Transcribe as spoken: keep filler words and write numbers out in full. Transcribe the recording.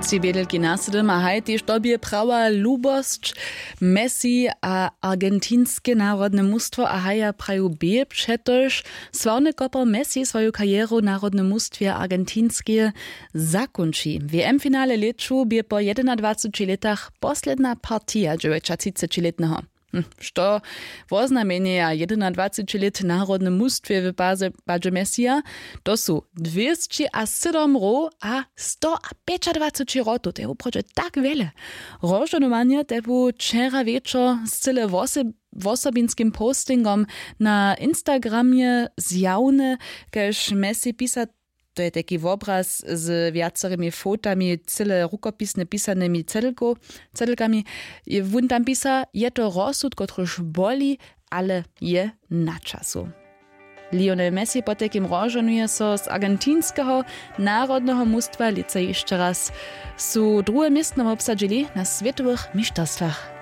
Tři bědelki nasydom a haj tež to bě prawa lubosć. Messi a argentinske narodne mustwo a haja praju bě přetož sławny kopor messi swoju karjeru w narodnym mustwje argentinskeje zakónči. W m finale lěću bě po jedynadwaceći lětach posledna partija dźewjećatřicećilětneho. Hm, što woznamjenjeja jedynadwaceći lět w narodnym mustwje w padźe messija? To su dwěsći a sydom row a sto a pjećadwaceći rotow, to je wuprawdźe tak wjele. Rozžohnowanje te bu wčera wječor z cyle wosobinskim postingom na instagramje zjawne, kaž messi pisa. To je tajki wobraz z wjacorymi fotami cyle rukopisnje pisanymi cedlkami. Wón tam pisa, je to rozsud kotryž boli, ale je na času. Lionel messi potajkim rozžonuje so z argentinskeho narodneho mustwa lětsa hišće raz. Su druhe městno wobsadźili na swětowych mišterstwach.